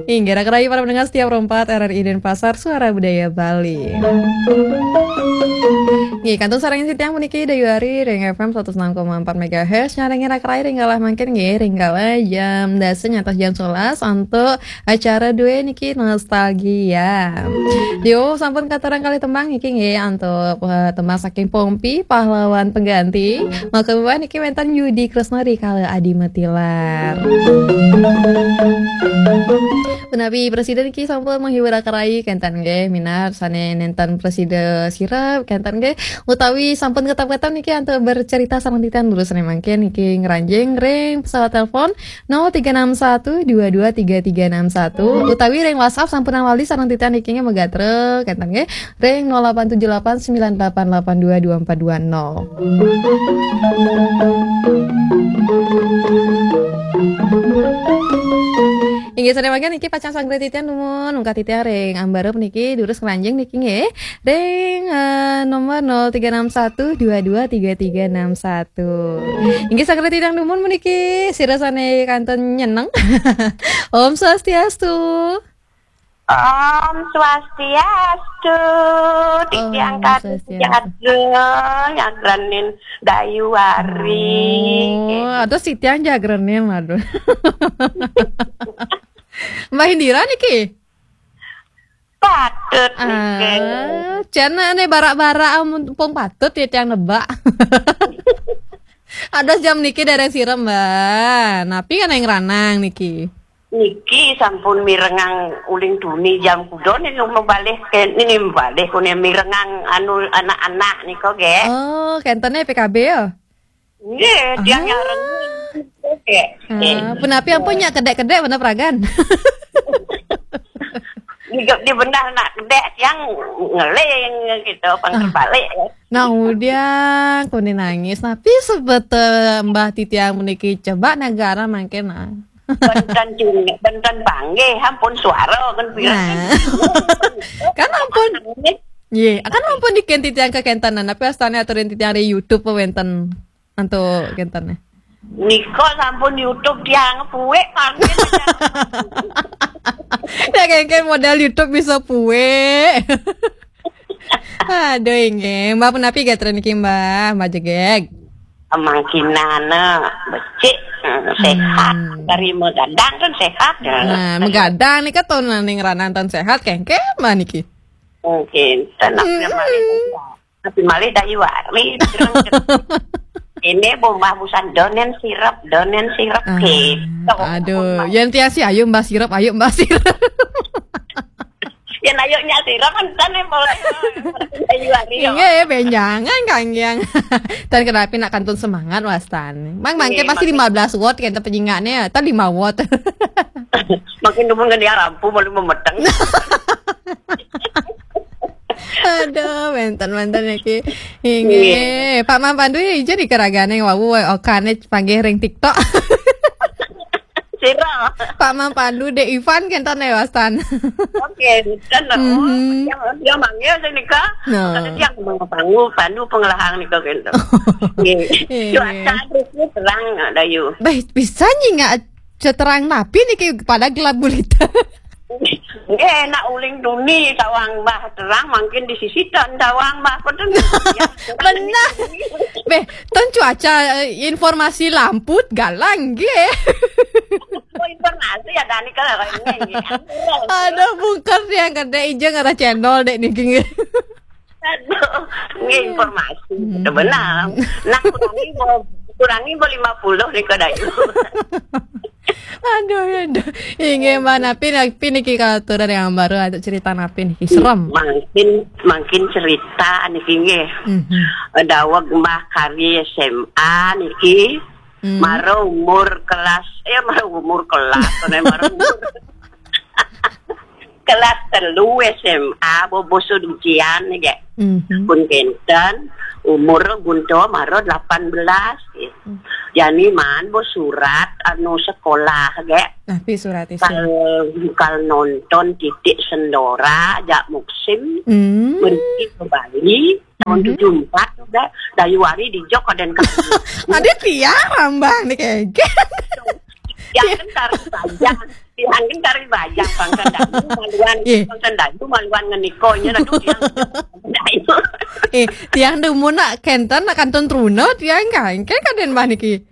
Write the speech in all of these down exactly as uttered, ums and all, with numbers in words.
Inggih, raka rahayu para pendengar setia Pro empat R R I Denpasar, Suara Budaya Bali. Nggih, kantun sareng titiang puniki Dayu Ari ring F M seratus enam koma empat megahertz, nyarengin raka rahayu ring galah mangkin nggih, ring galah jam dasa nyantos jam sebelas untuk acara dué niki Nostalgia. Yo, sampun katurang kalih tembang niki nggih, antuk, eh, tembang saking Pompi, Pahlawan Pengganti. Maka niki wénten Yudi Kresna rikala Adi Metilar. Punapi prasida niki sampun menghibur raka rahayu kénten nggih, minab sané nénten prasida sirep kénten nggih, utawi sampun ketap-ketap niki antuk bercerita sareng titiang durus sané mangkin niki ngranjing ring pesawat telepon nol tiga enam satu dua dua tiga tiga enam satu, utawi ring WhatsApp sampunang lali sareng titiang niki nggih, magatra kénten nggih, ring nol delapan tujuh delapan sembilan delapan delapan dua dua empat dua nol. Inggih, sané mangkin niki pacang sanggra titiang dumun, ungkat titiang ring ambara puniki durus ngranjing niki nggih. Ring, eh, nomor nol tiga enam satu dua dua tiga tiga enam satu. Inggih, sanggra titiang dumun puniki, sira sané kantun nyeneng. Om Swastiastu. Om Swastiastu. Titiang Om katuju Swastiastu. Jaga, nyagrenin Dayu Ari. Oh, aduh, titiang jagrenin, aduh. Mbah Indira niki? Patut niki. Ah, cén né barak-barak, amun pung patut ya tiang nebak. Ada jam niki dereng sirem, Mbah. Napi kan yang ranang niki? Niki sampun mirengang uling tuni jam kuda niki mabalih ké-, niki mabalih kuné mirengang anu anak-anak nika, Gék. Oh, kéntené P K B ya? Nggih, tiang Ah. nyareng. Oke. Ah, punapi ampun nyak kedék-kedék bener pragan. Di, di benar nak kedék tiang ngeling gitu, pang Ah. terbalik ya. Nah, udah, kuning nangis. Tapi sebete Mbah Titiang puniki coba negara mangkin, nah. Benten cing, benten panggih, ampun suara kan pirang. Nah. Kan ampun. Nggih, kan ampun dikin titiang kekéntenan, tapi astane aturin titiang di YouTube wénten. Antuk kénten, eh. Nika sampun YouTube tiang puwek mangkin. Ya, kéngkén modal YouTube bisa puwek. Aduh, inggih. Mbah punapi gatra niki, Mbah? Mbah Jegég. Mangkinana becik, eh, sehat. Hmm. Dari megadang kan sehat, ya. Nah, megadang nika ton ning ranantan sehat, kéngkén, Mbah niki. Mungkin, tenang, Hmm. Tapi malih Dayu Ari. Ini bombah busan donen sirep, donen sirep Ah, gitu. Aduh, yang tiasi ayo Mbah sirep, ayo Mbah sirep. Yang ayo nya sirep kan, kan yang boleh. Dayu Ari, ya. Inggih, benjangan, Kang Yang. Dan kenapa nak kantun semangat, wastan. Mang mangke Iya, pasti makin lima belas watt, kan, penyingaknya, atau lima watt. Makin dumun kan dia rampu, malu memeteng. Aduh, mantan-mantan ya, Ki. Inggih. Nggih. Pak Mang Pandu ya, ijen ikaragane wau, okane panggih ring TikTok. Sira. Pak Mang Pandu, Dek Ivan, kenten ya, wastan. Oke, kan, oh, Mhm. yang, yang manggil sih nika. No. Kata dia, Mang Pandu, Pandu pengelahang nika, gitu. Nggih. Iya. Cuaca terus ni terang, Dayu. Baik, bisa nyingak ceterang napi niki pada gelap gulita. Nggih, nak uling tuni tawang Mbah terang, mangkin di sisi tan tawang Mbah pun. Benar. Beh, ton cuaca, eh, informasi lamput galang nggih. Oh, informasi ya, Dani, kalau ini, nggih. Aduh, bungker yang gede ijeng arah channel dek niki nggih. Aduh, nggih, informasi. Hmm. Betul benar. Nah, kurangi bo, kurangi bo lima puluh nika, Dayu. Aduh, aduh. Inggih, Mbah, napi, napi niki katuran yang baru ada cerita napi niki. Serem. Mangkin, mangkin cerita niki nggih. Mhm. Daweg Mbah Kari S M A niki. Mhm. Mara umur kelas, eh, mara umur kelas, mara umur kelas telu S M A, bo-, basa ujian, nggih. Mhm. Pun kenten, umur gunta mara delapan belas, nggih. Hmm. Jani maan bo surat anu sekolah, nggih. Napi surat isin? Kal, kal nonton Titik Sendora, jak musim, Hmm. Meriki ke Bali, tahun Mhm. tujuh empat, nggih. Dayu Ari dijok kaden kami. Ada tiang rambang nih, kayak. Tiang kan tari bajang. Tiang kan tari bajang, bangsa Dayu maluan, Ih. Bangsa Dayu maluan ngenikanya, aduh, tiang Dayu. Eh, tiang demen nak kenten nak kantun truna tiang kan. Kan kaden bah niki.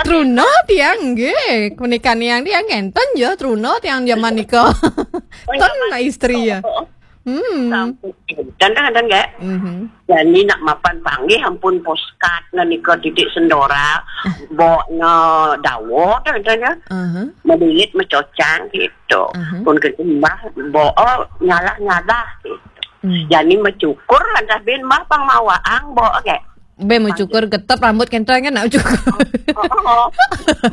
Truna tiang nggih. Kunikan yang tiang kenten ya truna tiang zaman nika. Ton nak istri ya. Hmm. Sampun. Dan kan, dan gak. Mhm. Jani nak mapan panggih ampun poskat ngenika titik sendora, boknya dawa kan, kan ya. Aha. Melilit, mecocang gitu. Mhm. Pun ke mbah bok nyalah-nyalah gitu. Hmm. Jani mecukur lantas bin mbah pang mawaang bok gak. Be mau cukur getep rambut kenten kan nak cukur. Oh, oh.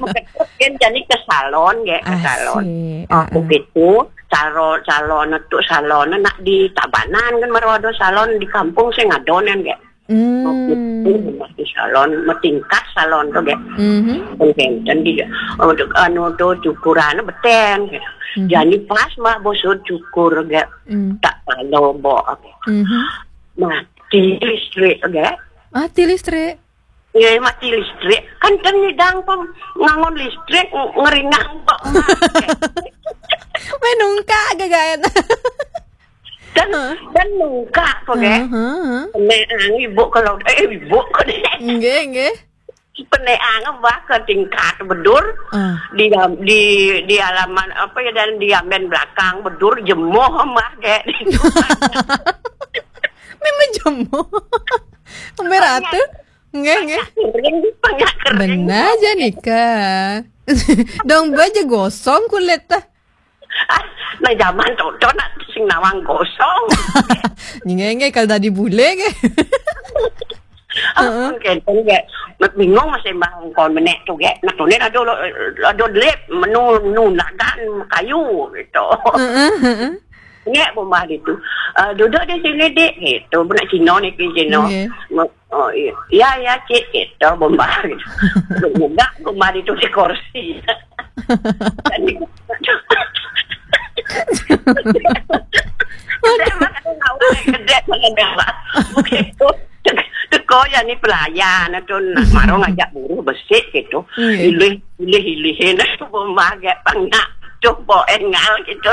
Meketut kan jani ke salon gak, ke salon. Asik. Aku Heeh. gitu, salon, salon tu salon nak di Tabanan kan, baru ada salon di kampung saya ngadonan gak. Hmm. Di salon, metingkat salon tu gak. Mhm. Pun kenten dia. Oh, tu, anu tu cukuran beten gak. Mhm. Jani pas mbah bosot cukur gak. Hmm. Tak kalau bok. Mhm. Mati listrik gak. Mati listrik. Ya, mati listrik. Kan kan nyidang pun ngangon listrik, ng- ngeringang kok. Menungka gagayan. Dan dan nungka kok gak. Heeh. Peneang ibu kalau eh ibu kok deh. Nggih, nggih. Peneang bah ke tingkat bedur. Ah. Di di di halaman apa ya, dan di amen belakang bedur jemoh mbah gak. Memang jemoh. Merah tu. Nggih, nggih. Kering, pengak kering. Benar je nika. Dong baja gosong kulit tah. Ah, nah zaman tu tu nak sing nawang gosong. Nggih, nggih kalau tadi bule ke. Ah, kenten gak. Bingung masih mbah kon menek tu gak. Nak tu ni ada ada lip menu menu nagan kayu gitu. Heeh, heeh. Nek bombah di tu. Ah, duduk di sini dek gitu. Benak Cina ni ke Cina. Nggih. Me- Oh iya. Ya ya cik gitu bombah gitu. Duduk juga bombah di tu di kursi. Jadi Gede makan awal, gede makan awal. Begitu. Teko ya ni pelayan tu nak marong ajak buruh besik gitu. Iya. Ilih ilih ilih nak tu bombah gak pangak tu bo engal gitu.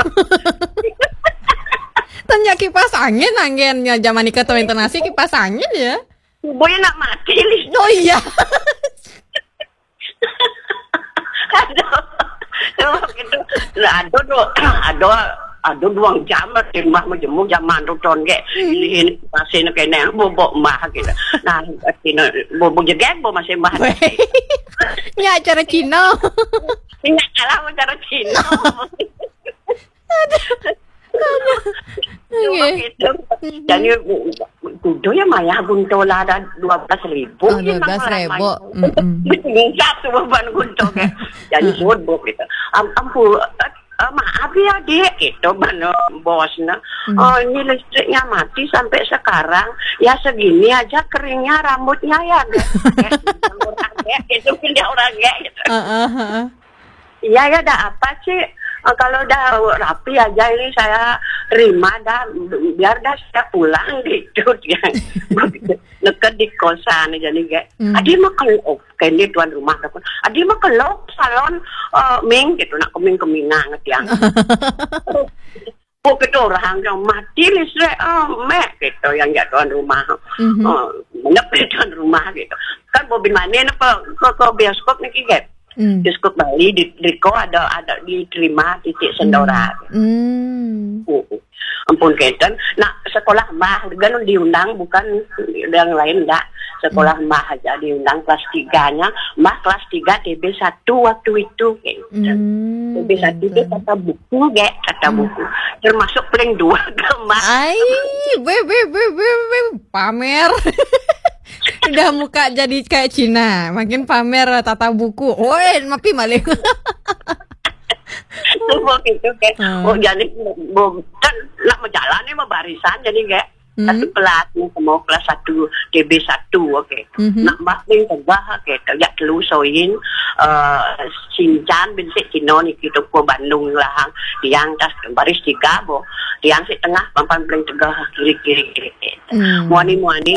Tanya kipas angin, angin ya zaman nika tu internasi kipas angin ya. Boy nak mati ni. Oh iya. Aduh. Aduh gitu. Lah, aduh tu. Aduh aduh dua jam lah di rumah menjemur zaman tu ton gak. Ini pasien kena bobok mah gitu. Nah, kena bobok jegek bo masih mah. Nya acara Cina. Ini kalah acara Cina. Nggih. Gitu. Jadi kudu ya mayah gunto lah ada dua belas ribu. Oh, dua belas ribu. Mm-mm. Bisa tu beban gunto kan. Jadi bobok gitu. Am ampu eh, maaf ya dek gitu mana bosnya. Oh, ini listriknya mati sampai sekarang. Ya segini aja keringnya rambutnya ya dek. Orang dek gitu pindah orang dek gitu. Heeh, heeh. Iya ya, dah apa sih? Eh, kalau dah rapi aja ini saya terima dah, biar dah saya pulang gitu dia. Neket di kosan aja nih gak. Hmm. Adi mah kalau oh, kene tuan rumah aku. Adi mah kalau salon eh, Ming gitu nak keming keminang tiang. Oh, kita orang yang mati listrik, oh, mek gitu yang jak tuan rumah. Mhm. Oh, menep tuan rumah gitu. Kan bobin mana apa ke, ke bioskop nih gak? Hmm. Bioskop Bali di Riko ada ada diterima titik sendora. Hmm. Uh, ampun keten. Nah, sekolah mah kan diundang bukan yang lain dah. Sekolah mah aja diundang kelas tiganya, mah kelas tiga T B satu waktu itu gitu. Hmm. T B satu itu tata buku gak, tata buku. Termasuk paling dua ke mah. Ai, be be be be be pamer. Udah muka jadi kayak Cina, makin pamer tata buku. Oi, mapi maling. Semua gitu kan. Hmm. Oh jadi bo- kan nak berjalan ni mah barisan jadi gak. Hmm. Satu kelas ni semua kelas satu T B satu, okey. Mhm. Nak mah paling tegah, okey. Tajak telu soin eh, sincan bin sik Cina ni kita ke Bandung lah. Tiang tas baris tiga bo. Tiang sik tengah papan paling tegah kiri kiri kiri. Hmm. Muani muani